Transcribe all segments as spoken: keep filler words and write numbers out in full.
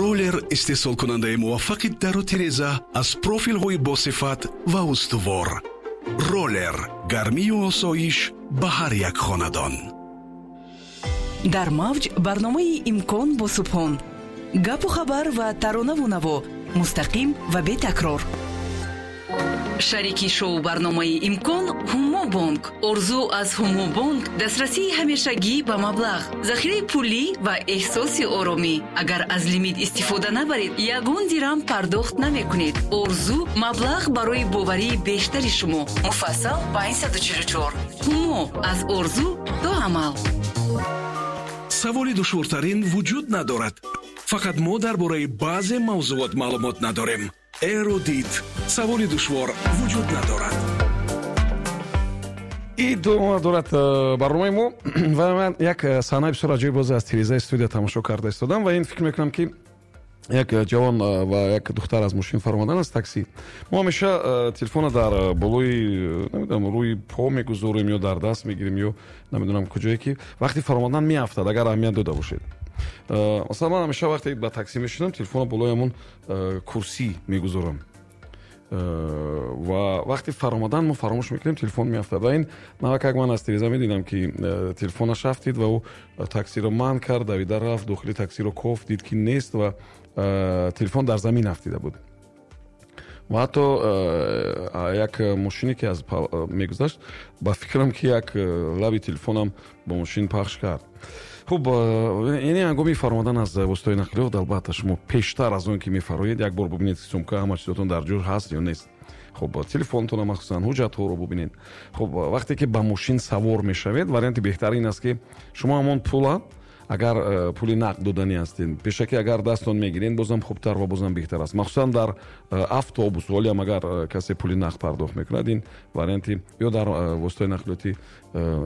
Роллер истеҳсолкунандаи муваффақи дару тиреза аз профилҳои босифат ва устувор. Роллер гармию осоиш ба ҳар як хонадон. Дар мавҷ барномаи «Имкон» бо Субҳон. Гапу хабар ва таронаву наво мустақим ва бетакрор. Шарики шоу барномаи «Имкон» Ҳумо Бонк. Орзу аз Ҳумо Бонк дастрасии ҳамешагӣ ба маблағ, захираи пулӣ ва эҳсоси оромӣ. Агар аз лимит истифода набаред, ягон дирам пардохт намекунед. Орзу маблағ барои боварии бештари шумо. Муфассал панҷсаду чилу чор. Ҳумо аз орзу то амал. Саволи душвортарин вуҷуд надорад, фақат мо дар бораи баъзе мавзӯот маълумот надорем. Эрудит, саволи душвор вуҷуд надорад. Идома дорад э, барномаи мо ва ман як э, саҳнаи бисёр аҷоиб боз аз тирезаи студия тамошо карда истодам ва ин фикр мекунам, ки як ҷавон э, ва як духтар аз мошин фаромадан, аз такси. Мо ҳамеша телефона дар болои, намедонам, рӯи по мегузорем ё дар даст мегирем ё намедонам куҷое, ки вақти фаромадан меафтад. Агар аҳамият дода бошед, масалан, ман ҳамеша вақте ба таксӣ мешинам, телефона болои ҳамон курсӣ мегузорам ва вақти фаромадан мо фаромӯш мекунем, телефон меафтад. Ва ин навакак ман аз тиреза медидам, ки э, телефонаш афтид ва ӯ таксиро манъ кард, давида рафт дохили таксиро кофт, дид, ки нест ва э, телефон дар замин афтида буд. Ва ҳатто э, як мошине, ки аз мегузашт, ба фикрам, ки як лаби телефонам бо мошин пахш кард. Хуб, яъне ҳангоми фаромадан аз воситаҳои нақлиёт, албатта, шумо пештар аз он ки мефароед, як бор бубинед, ки сумка, ҳама чизотон дар ҷой ҳаст ё нест. Хуб, телефонтона, махсусан ҳуҷҷатҳоро бубинед. Хуб, вақте ки ба мошин савор мешавед, варианти беҳтар ин аст, ки шумо ҳамон пула, агар э, пули нақд доданӣ ҳастед, пешакӣ агар дастон мегиред, бозам хубтар ва бозам беҳтар аст, махсусан дар э, автобус. Ҳолиам агар э, касе пули нақд пардохт мекунад, ин варианти ё дар воситаи нақлиётӣ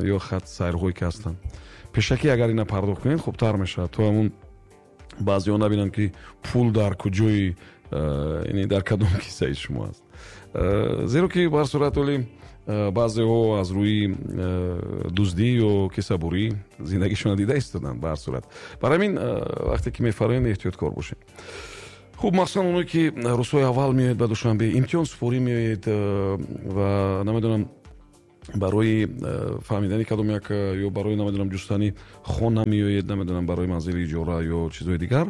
ё хат сайрҳое ки ҳастанд, пешакӣ агар ина пардохт кунед, хубтар мешавад, то ҳамун баъзеҳо набинанд, ки пул дар куҷои, яъне дар кадом кисаи шумо аст. Зеро ки ба ҳар сурат оли баъзеҳо аз рӯи дуздӣ ё кисабурӣ зиндагишонро дида истоданд. Ба ҳар сурат, барои ҳамин вақте ки мефароед, эҳтиёткор бошед. Хуб, махсусан оное, ки рӯзҳои аввал меоед ба Душанбе, имтиҳон супорӣ меоед ва намедонам, барои фаҳмидани кадом як ё барои, намедонам, ҷустани хона меоед, намедонам, барои манзили иҷора ё чизҳои дигар.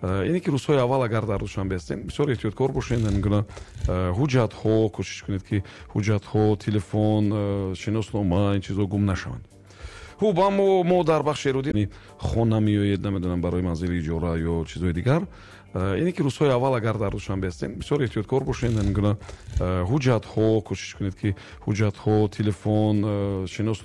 Ине ки рӯзҳои аввал агар дар Душанбе ҳастем, бисёр эҳтиёткор бошед. Ҳамин гуна ҳуҷҷатҳо, кӯшиш кунед, ки ҳуҷҷатҳо, телефон, шиноснома, ин чизҳо гум нашаванд. Хуб, аммо мо дар бахши эрудӣ хона меоед, намедонам, барои манзили иҷора ё чизҳои дигар. Ине ки рӯзҳои аввал агар дар Душанбе ҳастем, бисёр эҳтиёткор бошед. Ҳамин гуна ҳуҷҷатҳо, кӯшиш кунед, ки ҳуҷҷатҳо, телефон, шинос